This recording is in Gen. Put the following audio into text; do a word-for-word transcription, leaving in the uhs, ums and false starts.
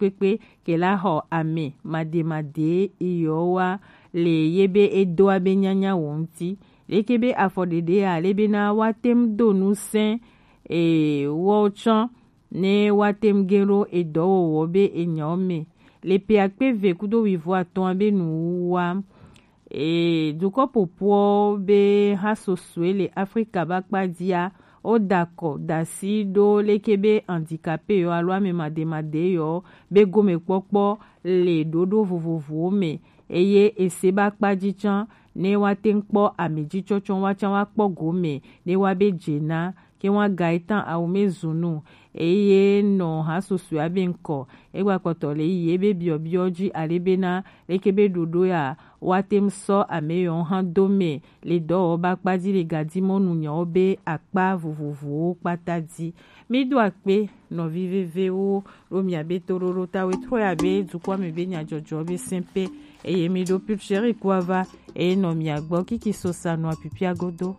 kpekpe ke la xɔ ame mademade yi yɔ wa le ye be edoa be nyanya wo ŋuti. Leke be afɔ ɖeɖe a le be na wa tem do nu sɛn e wɔ tsɔ ne wa tem ge ɖo edɔwɔwɔ be enyawo me le pe akpe ve kudo wivo atɔ̃ be nu wa. E dukɔ popoɔ be ha sosue le Afrika ba kpa dia, o dakɔ dasi ɖo leke be handicapé yɔ alo ame mademade yɔ be gomekpɔkpɔ le ɖoɖo vovovowo me, eye ese ba kpa ji tsã ne wa te ŋu kpɔ ame ji tsɔtsɔ wa tsã wa kpɔ gome ne wa be dze na ke wa ga etan awo me zunu eye nɔ ha sosue abe ŋkɔ egba kpɔtɔ le yi ebe biɔbiɔ ji ale be na leke be ɖoɖo ya wa te ŋu sɔ ame yɔ hã do me le dɔwɔba kpa ji le gadi mɔnu nyawo be akpa vovovowo kpata ji. Mi do akpe nɔvi vevewo ɖo mia be toɖoɖo tawe trɔ ya be dukɔ me be nyadzɔdzɔ be sɛnpe eye mi ɖo pulcheri kua va eye nɔ mia gbɔ kiki sosa nɔ apipia godo.